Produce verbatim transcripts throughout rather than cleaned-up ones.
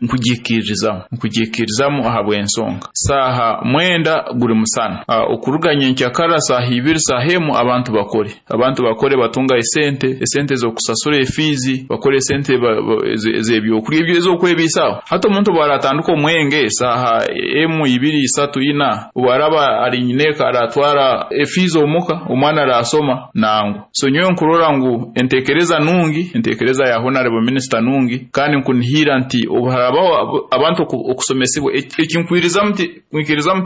Nkugiikirizamu nkugiikirizamu ahabw'ensonga saaha mwenda guri musana, uh, okuruga nyenkyakara saaha ibiri, saaha emu, abantu bakore abantu bakore batunga esente esente z'okusasura efiizi, bakore esente ez'ebyokurya, ebyo ez'okwebiisaho. Hati omuntu obu aratandika omwenge saaha emu, ibiri, isatu, ina, obu araba ali nyineeka aratwara efiizi omuka, omwana arasoma nangwa. So nyowe nkurora ngu enteekereza nungi, enteekereza ya honorable minister nungi, kandi nkunihira nti obu harabaho abantu okusomesibwa, ekinkwirizamu nkwikirizamu,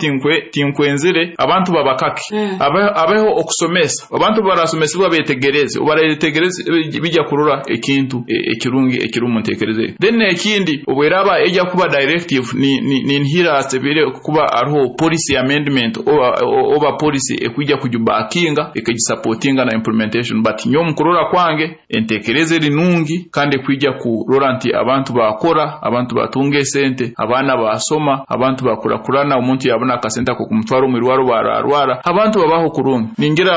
tinkwenzire abantu babakake, mm. abeho okusomesa abantu. Barasomesibwa betegereze, obarayetegereze bijja kurora ekintu ekirungi ekiri mu ntekereza. Then ekindi, obweraba ejja kuba directive, ninhira asebire kuba ariho policy amendment oba, oba policy ekwijja kujubackinga, ekagisupportinga na implementation. But nyowe mukurora kwange, entekereza eri nungi kandi ekwijja kurora nti abantu bakora, abantu batunga esente, abaana basoma, abantu bakurakurana, omuntu yabona akasente ako kumutwara omwirwaro bararwara, abantu babaho kurungi. Ningira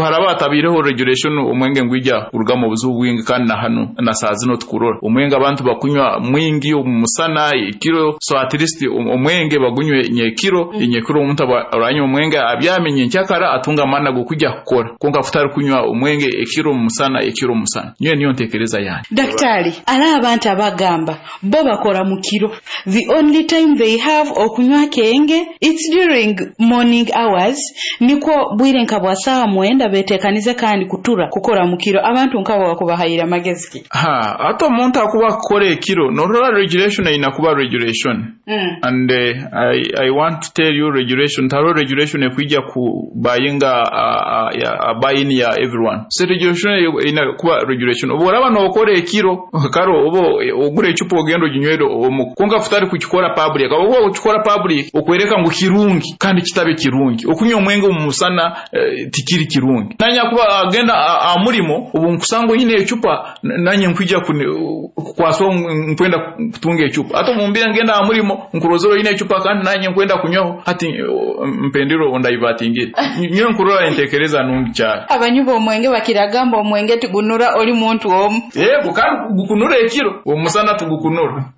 haraba hatabireho regulation, omwenge ngwija kurugamu obuzibu bwingi. Kandi na hanu na saa zino tukurora omwenge abantu bakunywa mwingi omusana, ekiro. So at least omwenge bagunywe nyekiro mm. Nyekiro omuntu aranywa omwenge abyame, nyenkyakara atunga amani g'okujya kukora, konka kutari kunywa omwenge ekiro musana, ekiro musana. Niyo niyo ntekereza yange. Daktari, ari abantu abagamba bo bakora mukiro, the only time they have okunywa kenge, it's during morning hours, nikwo bwire nka bwa saaha mwenda betekanize kandi kutura kukora mukiro. Abantu nkabo bakubahayira amagezi ki? Ha, ate omuntu akuba kukora ekiro, norora regulation eyina kuba regulation mm. And uh, I, I want to tell you, regulation taro regulation ekwija ku bayinga uh, uh, buy-in ya everyone. So regulation eyina kuba regulation. Obu oraba nokora ekiro, karo obo ogura ecupa ogenda oginywere omu, konka futari kukikora public. Oba okikora public okwereka ngu kirungi kandi kitabe kirungi. Okunywa omwenge omu musana eh, tikiri kirungi. Nanya kuba agenda amurimo, obu nkusanga oyine ecupa, nanye nkwija kukwaswa nkwenda kutunga ecupa. Ate omumbira ngenda amurimo, nkurozera oyine ecupa kandi nanye nkwenda kunywaho, hati mpendero ondaivatingire. Nyowe nkurora entekereza nungi cyane. Abanywi b'omwenge bakiragamba omwenge tigunura oli muntu omu. Yego, kandi gukunura ekiro, omusana tugukunura.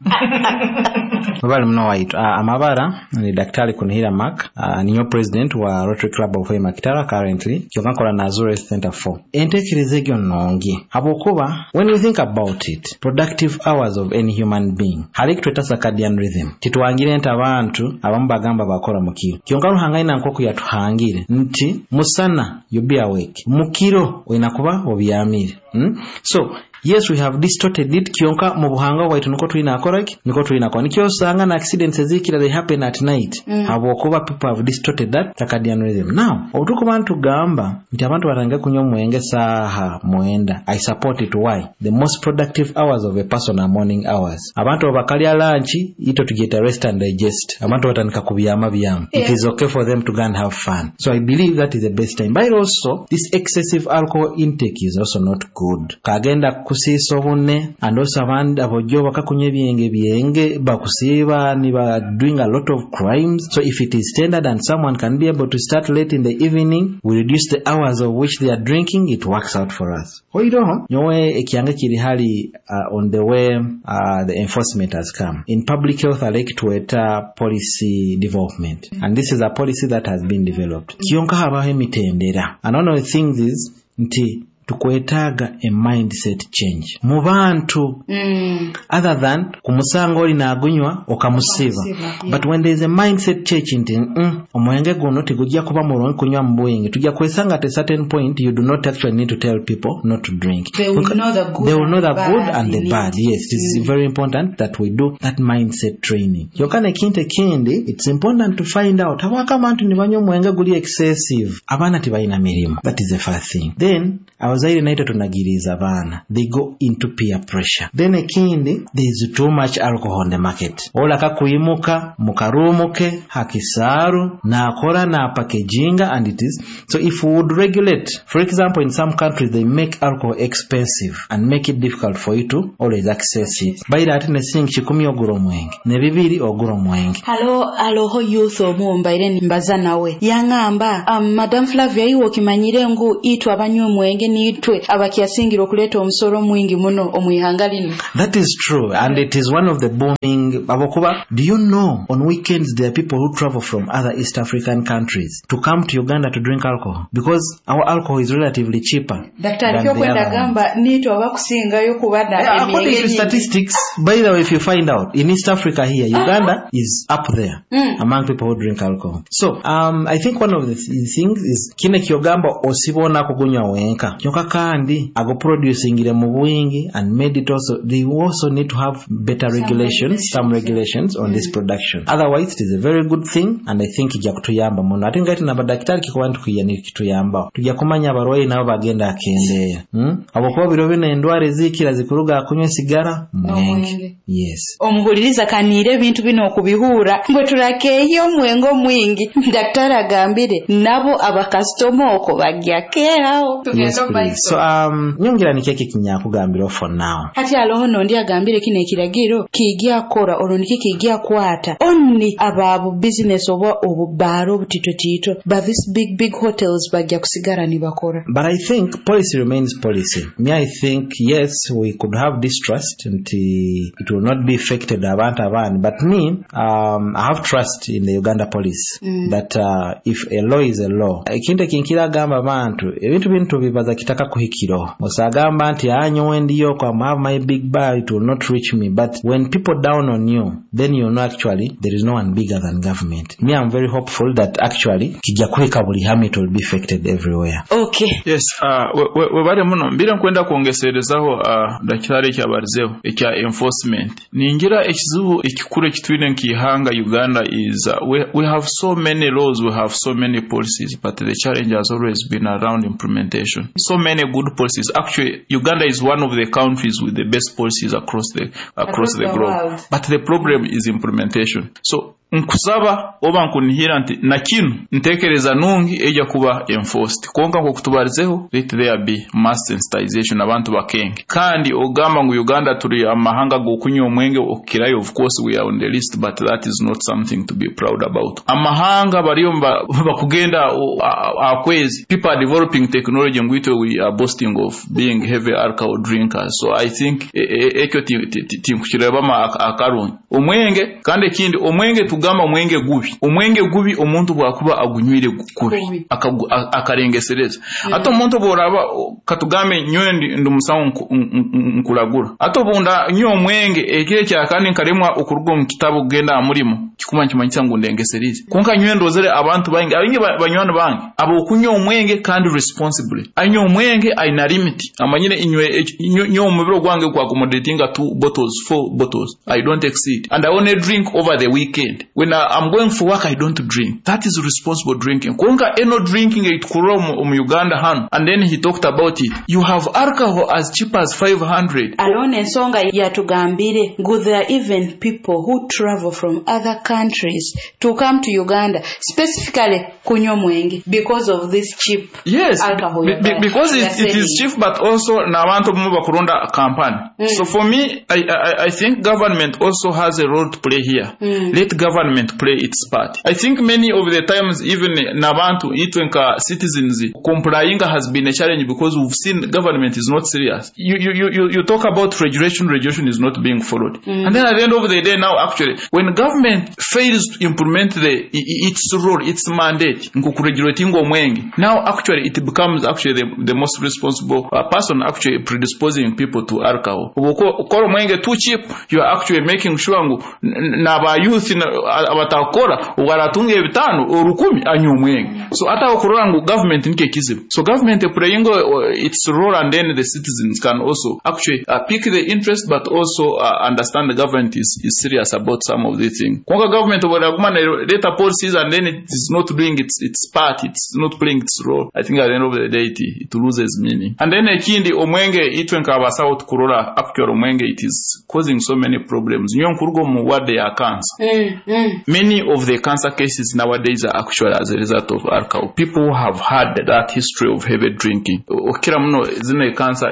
Wabali mno waitu. Uh, amabara ni Daktari Kunihira Mark, uh, niyo president wa Rotary Club of Hoima Kitara currently, kyokka nkola na Azure Center four. Entekereza egyo nnungi habwokuba when you think about it, productive hours of any human being hali kitweta circadian rhythm. Titwangire nti abantu abamu bagamba bakora mukiro, kyonka Ruhanga ina nkoku yatuhangire nti musana you be awake, mukiro oyina kuba obyamire, hmm? So yes, we have distorted it, kyonka mu buhanga bwaitu niko tulina akora ki, niko tulina kwa nikyo osanga na accidents ezikira, they happen at night mm. habwokuba people have distorted that circadian rhythm. Now obutukuba ntugamba nti abantu batandike kunywa omwenge saaha mwenda, I support it. Why? The most productive hours of a person are morning hours. Abantu bakalya lunch, ito tugyeta rest and digest, abantu batandika kubyama byama yeah. It is okay for them to go and have fun. So I believe that is the best time. But also this excessive alcohol intake is also not good, kagenda kusiisa obune. And also abandi abojjo bakakunywa ebyenge byenge bakusiiba ni ba doing a lot of crimes. So if it is standard and someone can be able to start late in the evening, we reduce the hours of which they are drinking, it works out for us. Oiroho nyowe ekyange kiri hali uh, on the way uh, the enforcement has come in public health, I like tweta policy development mm -hmm. And this is a policy that has been developed, kyonka habaho emitendera. And one of the things is nti tukwetaaga a mindset change mu bantu mm. other than kumusanga oli naagunywa okamusiba yeah. But when there is a mindset change nti mm, omwenge guno tegujja kuba mulungi kunywa mu bwingi, tujja kwesanga at a certain point you do not actually need to tell people not to drink. They will know the good, they will know the good and the bad. Yes, it is mm. very important that we do that mindset training. Kyokka nekintu ekindi, it's important to find out habwako abantu ne banywa omwenge guli excessive. Abaana tebalina mirimu, that is the first thing. Then abazaire naito tunagiriza abaana, they go into peer pressure. Then ekindi, there is too much alcohol on the market. Olaka kuyimuka mukarumuke hakisaaru nakora napackaginga and it is so. If we would regulate, for example, in some countries they make alcohol expensive and make it difficult for you to always access it. Baira ate ne silingi kikumi ogura omwenge, ne bibiri ogura omwenge. Halo, aloho youth omu mbaire mbaza nawe, yaŋŋamba, um, "Madam Flavia, iwe okimanyire ngu itwe abanywa omwenge ni niitwe abakyasingire okuleeta omusoro mwingi muno omu ihanga lino. That is true, and it is one of the booming. Abakuba, do you know on weekends there are people who travel from other East African countries to come to Uganda to drink alcohol because our alcohol is relatively cheaper Daktari, than the kyokwenda other ones. gamba niitwe abakusingayo kuba na Yeah, according emyenge to nyingi. statistics, by the way, if you find out, in East Africa here, Uganda is up there Mm. among people who drink alcohol. So, um, I think one of the th- things is kine kyogamba osibona kugunywa wenka kyonka kandi agoproducingire mu bwingi and made it also, they also need to have better Some regulations, some regulations on this production. Otherwise, it is a very good thing and I think ijja kutuyamba muno. Ate ngati nabadakitari kikuba nti nikituyambaho tujja kumanya abarwayi nabo bagenda akendeera, hmm? Habwokuba biro bino endwara ezikira zikuruga akunywa esigara, mwenge. Omwenge. Yes. Omuhuliriza kaniire ebintu bino okubihuura mbwe turakeeyo omwenge omwingi. Daktari agambire nabo abakasitoma okwo bajja keerawo. Yes, please. So um, nyongera nikyo kinyakugambira for now. Hati aloho nondi agambire kino ekiragiro kijja kora olwo niki kijja kwata only aba business oba obubaara obutitotiito, but this big big hotels bajja kusigara nibakora. But I think policy remains policy. Me, I think, yes, we could have distrust nti it will not be affected abantu abandi. But me, um, I have trust in the Uganda police mm. that uh, if a law is a law. Ekintu ekinkira agamba abantu, ebintu bino tubibaza kitaka kuhikiro. Osagamba nti anyowe ndiyo kwa have my big bar, it will not reach me. But when people down on you, then you know actually there is no one bigger than government. Me, I'm very hopeful that actually kijja kuhika buli hamu, it will be affected everywhere. Okay. Yes, uh, we- we- webale muno mbire nkwenda kwongeserezaho uh, dakitari ekyabarizeho ekya enforcement. Ningira ekizibu ekikuru ekitwine nk'ihanga Uganda is uh, we, we have so many laws, we have so many policies, but the challenge has always been around implementation. So many good policies. Actually, Uganda is one of the countries with the best policies across the across, Across the the globe, world. But the problem is implementation. So nkusaba oba nkunihira nti na kinu ntekereza nungi ejja kuba enforced, konka nkokutubarizeho, let there be mass sensitization, abantu bakenge. Kandi ogamba ngu Uganda tuli amahanga g'okunywa omwenge okukirayo, of course we are on the list, but that is not something to be proud about. Amahanga bariyo mba- bakugenda o- a- akwezi, people are developing technology, ngwitwe we are boasting of being heavy alcohol drinkers. So I think e- e- ekyo ti- ti- ti- tinkukirabama ak- akarungi omwenge. Kandi ekindi, omwenge tugamba omwenge gubi, omwenge gubi omuntu bwakuba agunywire gu- kubi, Kubi. akagu- a- akarengesereza. Ate omuntu bworaba o- katugambe nyowe ndi ndi musawo nku- n- n- nkuragura, ate obunda nywa omwenge ekiro ekya kandi nkaremwa okuruga omu kitabo kugenda aha murimo, kikuma nkimanyisa ngu ndengeserize. Konka nywe ndozere abantu baingi abingi ba- banywani bange abokunywa omwenge kandi responsibly, anywa omwenge aina limit, amanyire inywe inywe nywe omubiri ogwange kwa accommodating two bottles, four bottles, I don't exceed, and I only drink over the weekend. When I, I'm going for work, I don't drink. That is responsible drinking. Konka eno drinking etukurora omu omu Uganda hano, and then he talked about it, you have alcohol as cheap as five hundred. Alone ensonga yatugambire ngu there are even people who travel from other countries to come to Uganda specifically kunywa mwenge because of this cheap Yes, alcohol be, you're be, buying. because You're it, it is selling. cheap, but also n'abantu bamwe bakurunda company. So for me, I, I, I think government also has a role to play here. Let government play its part. I think many of the times, even n'abantu itwe nka citizens, complying has been a challenge because we've seen government is not serious. You, you, you, you- you talk about regulation, regulation is not being followed. And then at the end of the day now, actually, when government fails to implement the, i- i- its role, its mandate, nkukuregulating omwenge, now actually it becomes actually the, the most responsible uh, person actually predisposing people to alcohol. Ukora omwenge too cheap, you are actually making sure ngu n- n- n'aba youth na- abatakora ubwaratunga ebitano orukumi anywa omwenge. So ata okurora ngu government nikyo ekizibu. So government playing uh, its role, and then the citizens can also actually uh, pick the interest, but also uh, understand the government is, is serious about some of these things. Konka government bweraguma leta policies and then it is not doing its, its part, it's not playing its role, I think at the end of the day it, it loses meaning. And then ekindi, omwenge itwe nk'abasawo tukurora actually omwenge it is causing so many problems. Nyo nkuruga omu ward ya cancer, Mm, mm. many of the cancer cases nowadays are actually as a result of alcohol. People who have had that history of heavy drinking. Okira muno zino cancer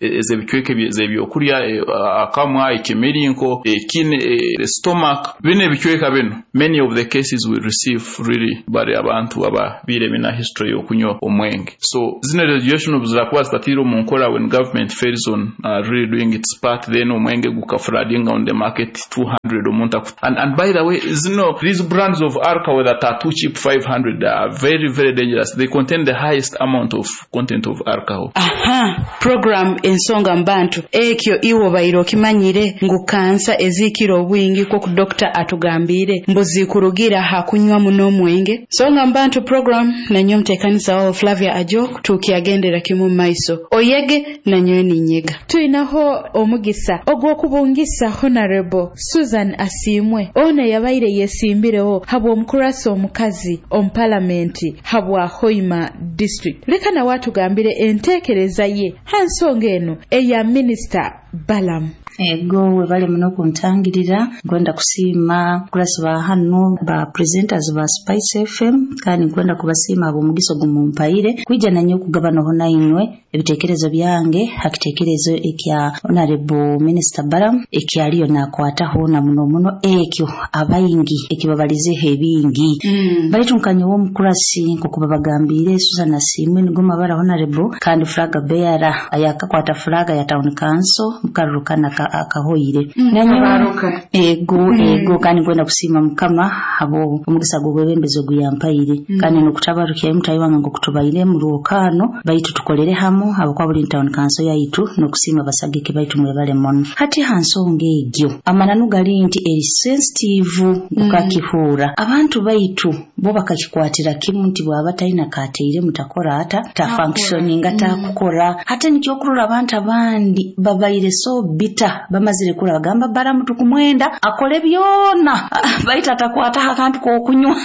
ez'ebicweka ez'ebyokurya, eh, akamwa, ekimirinko, ekine, eh, stomach, bino ebicweka bino, many of the cases we receive really bari abantu ababiire bina history y'okunywa omwenge. So zino regulation obuzirakuba zitatiire omu nkora, when government fails on uh, really doing its part, then omwenge gukafloodinga on the market two hundred omuntu aku- and, and by the way, zino these brands of alcohol that are too cheap, five hundred, are very, very dangerous. They contain the highest amount of content of alcohol. Aha, program Ensonga Mubantu, ekyo iwe obaire okimanyire ngu kansa eziikira obwingi kwoku dokita atugambire mbu zikurugira ha kunywa muno omwenge? Nsonga Mubantu program, nanyo omuteekaniza wawo Flavia Ajok, tukyagendera kimu mu maiso, oyege nanyowe ninyega. Tulinaho omugisa ogw'okubungisa Honorable Susan Asiimwe, ono yabaire yesimbireho habw'omukurasa omukazi omu palamenti habwa Hoima District. Leka nawe atugambire enteekereza ye ha nsonga eno eya Minisita Balamu. Ego, webale muno kuntangirira. Nkwenda kusiima kurasi ba hano, ba presenters ba Spice F M, kandi nkwenda kubasiima ab'omugiso gumumpaire kwija nanye okugabanaho nainywe ebitekerezo byange ha kitekerezo ekya Honorable Minister Balam ekyaliyo nakwataho na muno muno ekyo abaingi ekibabalizeho ebingi mm. Baitu nkanyowe omukurasi nkokuba bagambire, Susan Asiimwe nigo mabara, Honorable kandi flag bearer ayakakwata flag ya town council mukarurukana akahoire mm, Nanyowe- ego mm. Ego, kandi nkwenda kusiima Mukama abo omugisa gw'obwebembezi oguyampaire mm. Kandi nokutabarukyayo mutayi wange ngokutubaire mu lwokano baitu tukolere hamu abakuba buli town council yaitu, nokusiima basagike baitu, mwebale muno. Hati ha nsonga egyo, amananu gali nti eri sensitive gukakihuura mm. Abantu baitu bo bakakikwatira kimu nti bwaba talina kateire mutakora ata ta functioninga takukora. Hati nikyokurora abantu abandi babaire so bitter, bamazire kura bagamba Baramu tukumwenda akole byona baitu atakwataho akantu kokunywa,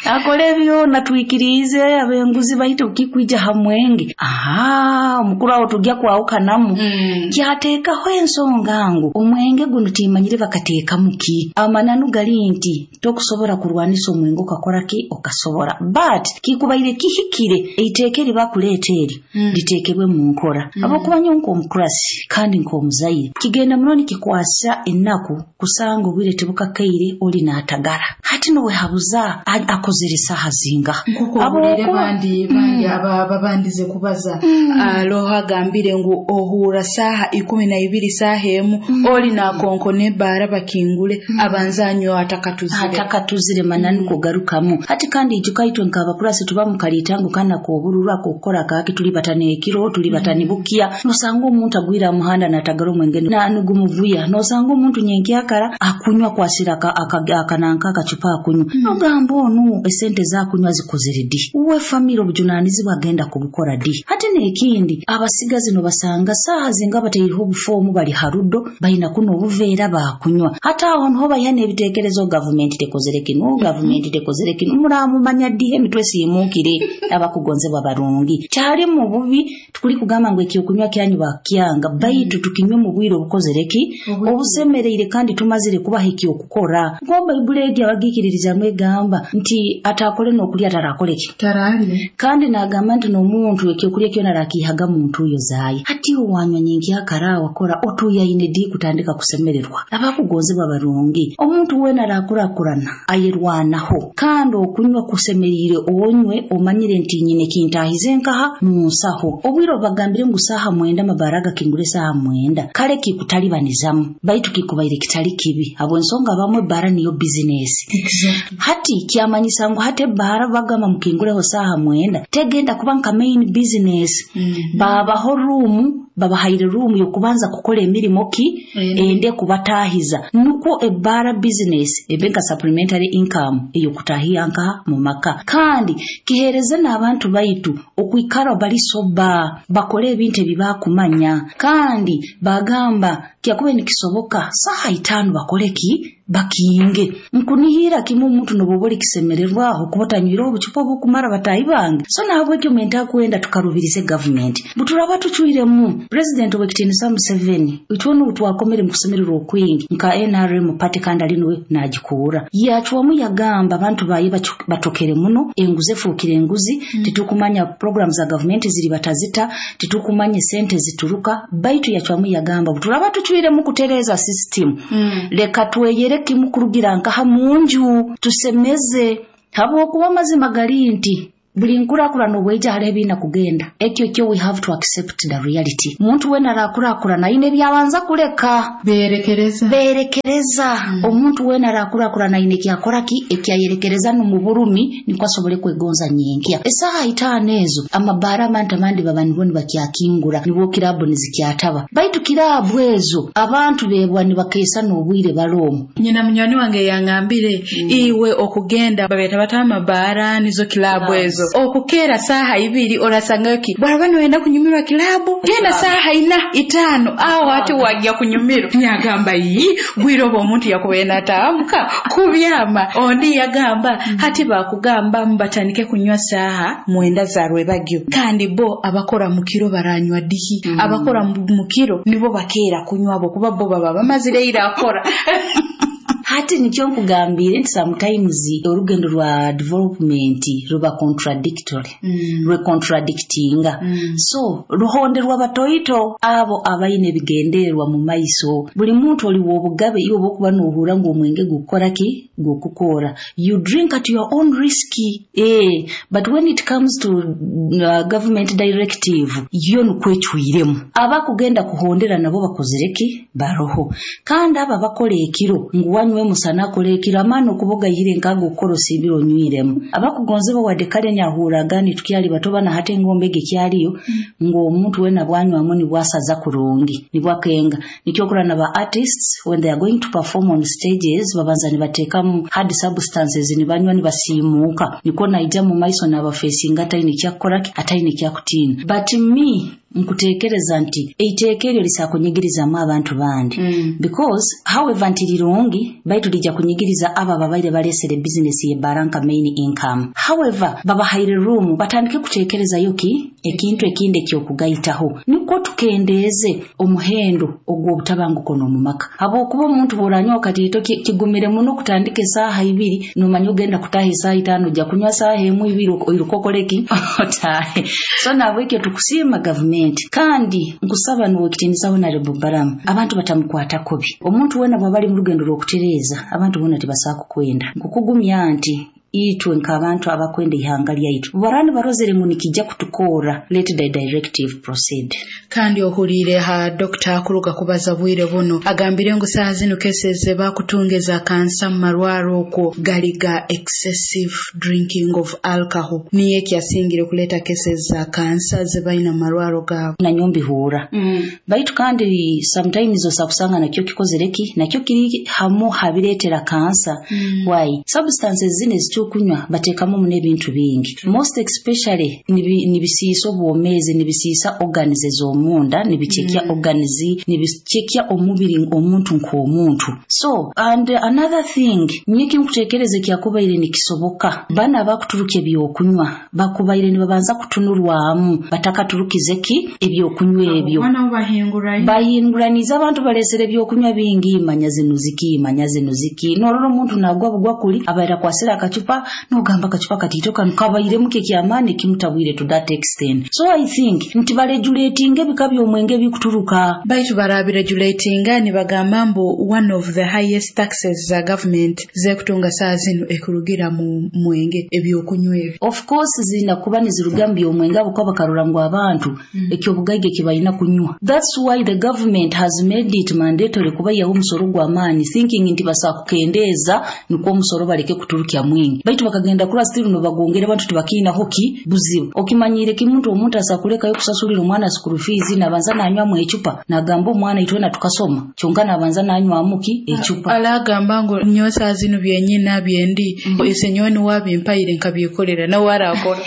akole byona twikirize abenguzi, baitu kikwija ha mwenge, aha omukuru awo tujja kwawukanamu mm. Kyateekaho ensonga ngu omwenge guno timanyire bakateekamu ki. Amananu gali nti tokusobola kurwanisa omwenge okakora ki okasobora, but kikubaire kihikire eiteeka eri bakuleeta eri mm. liteekebwe mu nkora mm. Abakuba nyo nk'omukurasi kandi nk'omuzaire, kigenda muno nikikwasa ennaku kusanga obwire tebukakaire oli n'atagara, hati nowehabuza a- akozere saaha zinga. Nkuko obulire Habwokuba- bandi bandi aba babandize kubaza, aloho agambire ngu ohura saaha ikumi na ibiri, saaha emu, oli nakonkona ebbaara bakingule abanza anywa atakatuzire. Atakatuzire, mananu kugarukamu. Hati kandi ijuka itwe nk'abakurasi tuba mukalitango kana k'obururu ak'okukora kaki, tuli batana ekiro, tuli batani bukya, nosanga omuntu agwire aha muhanda natagara omwenge na nigumuvuya, nosanga omuntu nyenkyakara akunywa kwasira aka- aka- akananka akacupa akunywa, nogamba onu esente zakunywa zikozere di? Uwe famire obujunanizibwa agenda kubukora di? Hati n'ekindi, abasigazi nobasanga saaha zinga bataireho obufomu bali harudo baina kuno obuveera bakunywa. Hati aho niho baiha n'ebitekerezo, gavumenti tekozere kino, gavumenti tekozere kino, muramumanya ddiho emitwe siimukire. Abakugonzebwa barungi, kyali mu bubi tukuli kugamba ngu ekyokunywa kyanyu bakyanga, baitu tukinywe mu bwire obukozere ki obusemereire kandi tumazire kubaha ekyokukora. Nko Bayibuli egi abagikiririzamu egamba nti atakole n'okulya atarakole ki tarali. Kandi nagamba nti n'omuntu ekyokulya kyona arakiihaga mu ntuuyo zaaye. Hati owanywa nyenkyakara wakora otuyaine di kutandika kusemererwa? Abakugonzebwa barungi, omuntu weena arakurakurana ayerwanaho, kandi okunywa kusemeriire onywe omanyire nti nyine kintahize nkaha mu nsaho. Obwire obagambire ngu saaha mwenda amabara gakingure saaha mwenda, kale kikutalibanizamu, baitu kikubaire kitali kibi habw'ensonga abamwe ebbaara niyo bizinesi. Hati kyamanyisa ngu hati ebbaara bagamba mukingureho saaha mwenda tegenda kuba nka main business mm. Babaho ruumu, babahaire ruumu yokubanza kukora emirimo ki ende kubatahiza, nukwo ebbaara business ebe nka supplementary income eyokutahiya nka mu maka, kandi kihereze n'abantu baitu okwikara bali sober, bakole ebintu ebibakumanya. Kandi bagamba kyakube nikisoboka saha itaano bakole ki bakinge. Nkunihira kimu omuntu noboba oli kisemererwaho kuba otanywire obucupa obukumara, batahi bange. So nahabwekyo mwenta kwenda tukarubirize gavumenti buturaba tucwiremu President owekitiinisa Museveni, itwona obu twakomere mu kusemererwa okwingi nka N R M party, kandi ali niwe nagikuura, yacwamu yagamba abantu baye bacu- batokere muno enguzi efuukire enguzi mm. Titukumanya program za gavumenti ziri batazita, titukumanya sente zituruka, baitu yacwamu yagamba buturaba tucwiremu kutereeza system mm. Leka tweyere kimu kurugira nkaha munju tusemeze, habwokuba amazima gali nti Buli nkurakurana obweija hariho ebiina kugenda. Ekyo kyo we have to accept the reality. Omuntu weena arakurakurana aine ebyabanza kuleka. Berekereza. Berekereza. Mm. Omuntu weena arakurakurana aine ekyakora ki ekyayerekereza n'omu burumi nikwo asobole kwegonza nyenkya. Esaaha itaano ezo amabaara abantu abandi baba nibo nibakyakingura, nibwo kirabu nizikyataba. Baitu kirabu ezo abantu bebwa nibakeesa n'obwire baloomu. Nyina munywani wange yangambire mm. iwe okugenda babeta bata amabaara nizo kilabu ezo, okukeera saaha ibiri orasangayo ki bwaraba niwenda kunyumirwa kilabu, genda saaha ina itaano aho ati wajya kunyumirwa. Nyagamba, yi bwire obwo omuntu yakubaye nataamuka kubyama. Ondi yagamba mm. hati bakugamba mbatandike kunywa saaha mwenda za rwebagyo, kandi bo abakora mukiro baranywa dihi? mm. Abakora mukiro nibo bakeera kunywa bo kuba bo baba bamazire ira akora. Hati nikyo nkugambire nti sometimes orugendo rwa development ruba contradictory, mm. rwe contradictinga. mm. So ruhonderwa batoito abo abaine ebigendererwa mu maiso. Buli muntu oliwa obugabe iwe obokuba nohura ngu omwenge gukora ki gukukora, you drink at your own risk, eh but when it comes to uh, government directive, yo nukwecwiremu. Abakugenda kuhondera nabo bakozere ki baroho. Kandi aba bakora ekiro ngu wanywe musana akora ekiro, amaani okuboga yire nkago okukora osiibire onywiremu. Abakugonze wadde kale nyahuraga nitukyali bato bana hati engombe ege kyaliyo mm. ng'omuntu wena bwanywamu nibwasaza kurungi nibwakenga. Nikyo okura na ba artists, when they are going to perform on stages, babanza nibateekamu hard substances, nibanywa nibasiimuuka, niko naija mu maiso n'abafeesinga ataine kyakukora, ataine kyakutiina. But me nkuteekereza nti eiteeka eryo lisakunyigirizamu abantu bandi mm. because however nti lirungi, baitu lijja kunyigiriza abo ababaire balesere bizinesi y'ebbaara nka main income. However, babahaire room batandike kuteekerezayo ki ekintu ekindi ekyokugaitaho, nikwo tukendeeze omuhendo ogw'obutabanguko n'omu maka. Habwokuba omuntu bw'oranywa katiito, kigumire muno kutandika esaaha ibiri nomanya ogenda kutaha esaaha itaano, ojja kunywa saaha emu ibiri oiruka okoleki otaahe. So nabwekyo tukusiima gavumenti, kandi nkusaba nuwe ekitiinisa Honorable Balamu, abantu batamukwata kubi. Omuntu wena bw'aba ali mu rugendo rw'okutereeza, abantu boona tibasaa kukwenda. Nkukugumya nti itwe nk'abantu abakwenda ihanga lyaitu barani barozere ngu nikijja kutukoora, let the directive proceed. Kandi ohuriire ha dokita akuruga kubaza bwire buno, agambire ngu saaha zinu cases bakutunga eza kansa mu marwaro okwo gali ga excessive drinking of alcohol, niyo ekyasingire kuleeta cases za kansa zebalina mu marwaro gaabo. Nanyo mbihuura mm. baitu kandi sometimes osakusanga nakyo kikozere ki nakyo kiri hamu habireetera kansa. mm. Why substances zino ezitukunywa bateekamu muno ebintu bingi, most especially nibisiisa obwomeezi, nibisiisa organs ez'omunda, nibikyekya mm. organs, nibikyekya omubiri omuntu nk'omuntu. So and another thing, nyeki nkutekereza ekyakubaire nikisoboka, bana abakuturuka ebyokunywa bakubaire nibabanza kutunurwamu batakaturukize ki ebyokunywa ebyo. Bahinguraniza abantu balesere ebyokunywa bingi, manya zino ziki, manya zino ziki, norora omuntu nagwa bugwa kuli abaire akwasire akacupa, nogamba akacupa katiito kano kabairemu kekyamaani kimutabwire to that extent. So I think nti baregulatinga ebika by'omwenge ebikuturuka. Baitu barabiregulatinga, nibagamba mbu one of the highest taxes za government zekutunga saa zino ekurugira mu mwenge, ebyokunywa ebyo. Of course zina kuba niziruga mu byomwenge abo kuba bakarora ngu abantu mm. ekyobugaiga ekibalina kunywa. That's why the government has made it mandatory kubayaho omusoro gw'amaani, thinking nti basakukendeeza nikwo omusoro baleke kuturukya mwingi, baitu bakagenda kura still nobagongera, abantu tibakiinaho ki buzibu. Okimanyire kimuntu omuntu asakulekayo kusasulira omwana school fees, nabanza nanywamu ecupa, nagamba omwana itwena tukasoma, kyonka nabanza nanywamu ki ecupa. Alagamba ngu nyowe saa zino byenyina byendi mm. ise nyowe niwabimpaire nkabyekolera nawe arakora.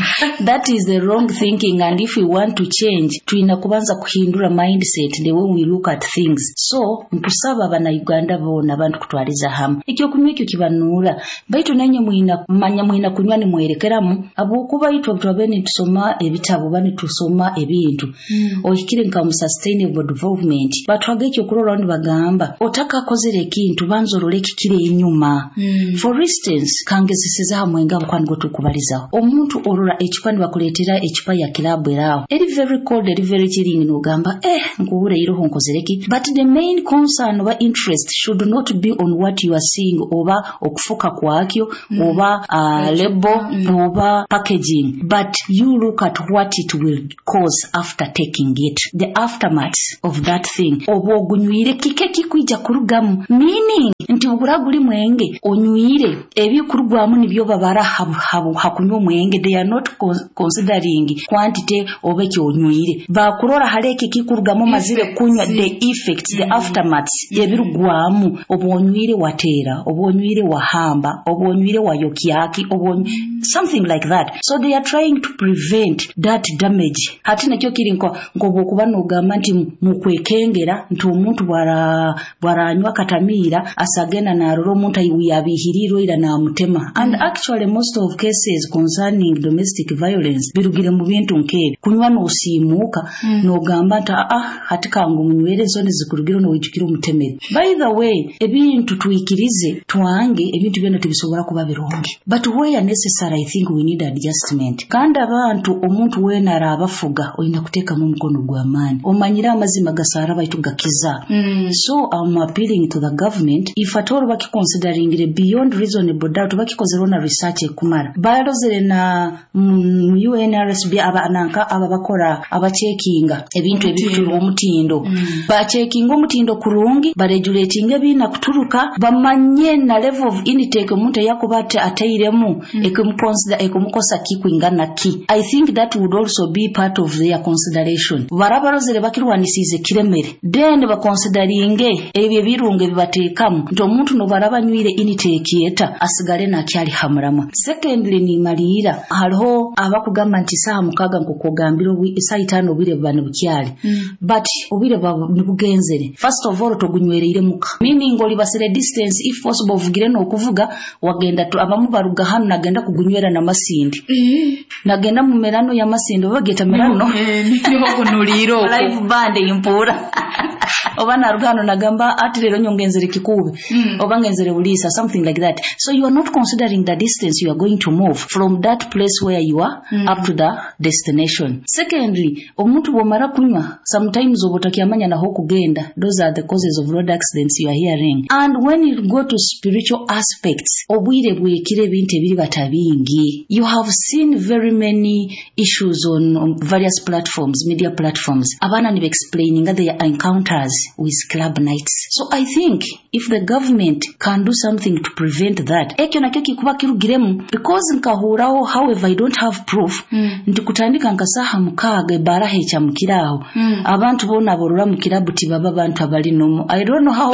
That is the wrong thinking, and if we want to change, tulina kubanza kuhindura mindset, the way we look at things. So nkusaba abanauganda boona, abantu kutwaliza hamwe, ekyokunywa ekyo kibanuura, baitu nenye mwina manya mwina kunywa nimwerekeramu, habwokuba itwe twabe nitusoma ebitabo ba nitusoma ebintu mm. ohikire nka mu sustainable development batwaga ekyokurora, nibagamba otakakozere ekintu banza orole ekikire enyuma. mm. For instance, kangezeseza hamwe abo kwani tukubalizaho omuntu orora ecupa, nibakuleetera ecupa ya kilabu eraho eri very cold, eri very chilling, nogamba, eh nkuhure iroho nkozereki. But the main concern oba interest should not be on what you are seeing oba okufuka kwakyo mm. oba oba uh, label mm. oba packaging, but you look at what it will cause after taking it, the aftermath of that thing. Oba ogunywire kike kikwija kurugamu, meaning nti bugura guli mwenge onywire ebikurugwamu nibyo babara hakunywa omwenge. They are not considering quantity oba ekyonywire, bakurora haleke kikurugamu mazire kunywa, the effects, the aftermath ebirugwamu. Oba onywire watera, oba onywire wahamba, oba onywire wayokyaki, oba something like that. So they are trying to prevent that damage. Hati nakyo kiri nko nkobokuba nogamba nti mukwekengera nti omuntu bwara bwaranywa katamira asagenda narora omuntu yabihirirwe ira namutema. And actually most of cases concerning domestic violence birugire mu bintu nkebi kunywa nosimuka mm. nogamba nti ah hati kangu munywere ensoni zikurugire nowijukira omutemere. By the way, ebintu tuikirize twange ebintu byona tubisobola kuba birungi, but where necessary I think we need adjustment. Kandi abantu omuntu wena arabafuga oyina kuteekamu omukono gw'amaani, omanyire amazima gasara baitu gakiza. mm. So I'm appealing to the government, if at all bakiconsideringire beyond reasonable doubt, bakikozere na research ekumara, balozere na mm, U N R S B aba nanka aba bakora abachekinga ebintu ebituru omutindo, mm. bachekinga omutindo kurungi, baregulatinga ebina kuturuka, bamanye na level of intake omuntu yakuba ateiremu mm. ekumuconsider ekumukosa kikwingana ki. I think that would also be part of their consideration. Barabarozere bakirwanisize kiremere, then baconsideringe ebyo ebirungo bibateekamu nti omuntu nobaraba nywire intake yeta asigale nakyali hamurama. Secondly, ni malira hariho abakugamba nti saha mukaga nkokogambira isaha itano obwire buba nibukyali, mm. but obwire buba nibugenzere. First of all, togunywereire muka, meaning olibasire distance if possible ovugire n'okuvuga wagenda abamu baruga hano nagenda kugunywera na Masindi, mm. nagenda mu merano ya Masindi oba geta merano niho kunuliro live band impura oba naruga hano nagamba ati rero nyongenzere kikube, mm. oba ngenzere ulisa, something like that. So you are not considering the distance you are going to move from that place where you are, mm. up to the destination. Secondly, omuntu bwomara kunywa sometimes obotakyamanya naho kugenda. Those are the causes of road accidents you are hearing. And when you go to spiritual aspects, obwire bwekire ebintu ebiri batabingi. You have seen very many issues on, on various platforms, media platforms. Abana ni explaining their encounters with club nights. So I think if the government can do something to prevent that, ekyo nakyo kikuba kirugiremu, because nkahuraho, however I don't have proof, mm. nti kutandika nkasaha mukaaga ebara hecha mukiraho, mm. abantu bona borora mu kirabu tibaba abantu abali nomo. I don't know how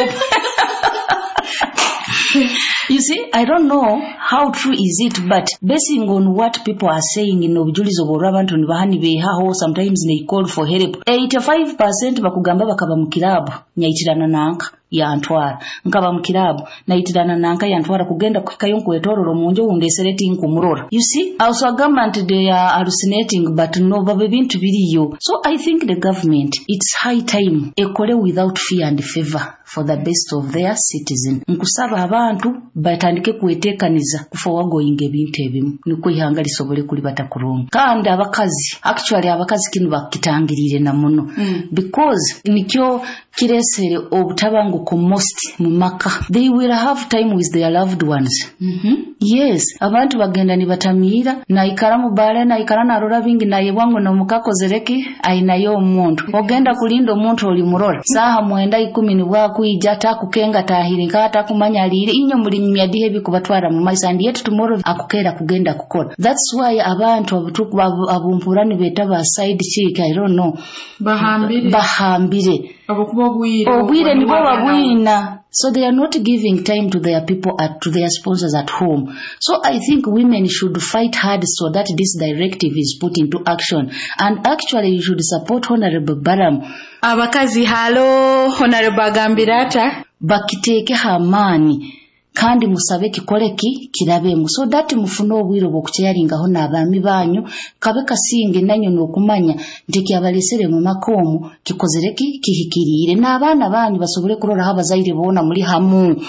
You see, I don't know how true is it, but basing on what people are saying in obujulizi obwo abantu nibahani behaho, sometimes they call for help. eighty-five percent bakugamba bakaba mu kirabu nyaitirana nanka yantwara, nkaba mu kirabu naitirana nanka yantwara kugenda kuhikayo nkwetororo munjo undesereti nkumurora. You see, also government they are hallucinating, but no babe bintu biriyo. So I think the government, it's high time ekole without fear and favor for the best of their citizen. Nkusaba abantu batandike kwetekaniza kufowagoyinga ebintu ebimu niko ihanga lisobole kulibata kurungi. Kandi abakazi, actually abakazi kinu bakitangirire na muno, mm. because nikyo kiresere obutabanguko most mu maka. They will have time with their loved ones. Mm -hmm. Yes, abantu bagenda nibatamira naikara mu bale naikara narora bingi naye bwangu nomukakozereki ainayo omuntu. Ogenda kulinda omuntu oli murora saha mwenda ikumi ni bwakuija takukenga tahiri nkata kumanya alire inyo muri myadihe bikubatwara mu maisa, and yet tomorrow akukera kugenda kukora. That's why abantu abutuku abumpura nibeta ba side chick, I don't know, bahambire bahambire abakuba obwire obwire nibo babwina. So they are not giving time to their people, at, to their sponsors at home. So I think women should fight hard so that this directive is put into action. And actually you should support Honorable Baram. Abakazi halo, Honorable Agambirata. Bakiteeke amaani kandi musabe kikoleki kirabemu, so that mufune obwire obw'okukyeyaringaho n'abaami banyu, kabe kasinge nanyo n'okumanya nti kyabalesere mu maka omu kikozereki kihikiriire, n'abaana banyu basobole kuroraho abazaire boona muri hamu,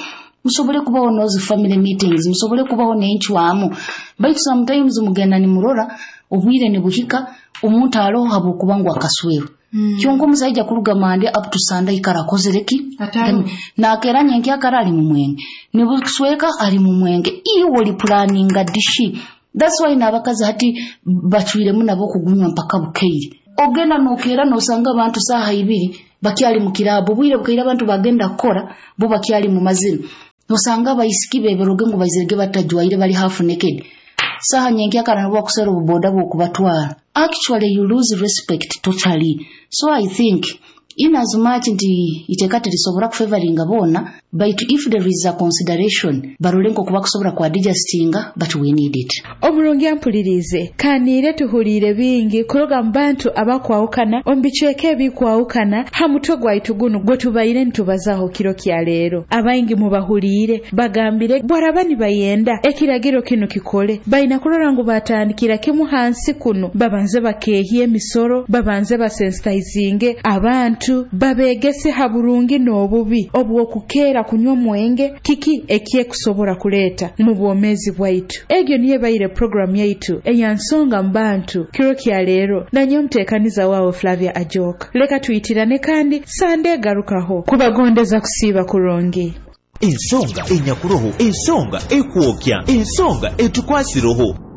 musobole kubaho nozi family meetings, musobole kubaho n'encwamu. Baitu sometimes mugenda nimurora obwire nibuhika omuntu aroho habwokuba ngu akasweru, Mm. Kyonka omusaija kuruga Monday up to Sunday ikara akozere ki? Nakeera nyenkyakara ali mu mwenge, nibusweka ali mu mwenge. Iwe oli planninga dishi. That's why n'abakazi hati bacwiremu nabo okugunywa mpaka bukeire. Ogenda nokeera nosanga abantu saaha ibiri bakyali mu kirabo, obwire bukeire abantu bagenda kukora bo bakyali mu mazina. Nosanga abaisiki beberoge ngu baizirege batajwaire bali half naked. Saha nyenkyakara nabo bakusera obuboda bw'okubatwara. Actually you lose respect totally. So I think in as much nti iteeka terisobora kufavoringa boona, but if there is a consideration barole nkoku bakusobora ku adjustinga, but we need it. Omurungi ampulirize kaniire tuhuliire bingi kuruga mu bantu abakwawukana omu bicweka ebikwawukana ha mutwe gwaitu gunu gwe tubaire nitubazaho kiro kya leero. Abaingi mubahuliire bagambire bwaraba nibayenda ekiragiro kinu kikole baina kurora ngu batandikira kimu hansi kuno, babanze bakeehya emisoro, babanze basensitizinge abantu, babegese ha burungi n'obubi obw'okukeera kunywa mwenge, kiki ekyekusobora kuleeta mu bwomeezi bwaitu. Egyo niyo ebaire programu yaitu eya nsonga mu bantu kiro kya leero, nanye omuteekaniza waawe Flavia Ajoka. Leka tuyitirane kandi sande egarukaho kubagondeza kusiiba kurungi. Ensonga enyakuroho, ensonga ekwokya, ensonga etukwasiroho.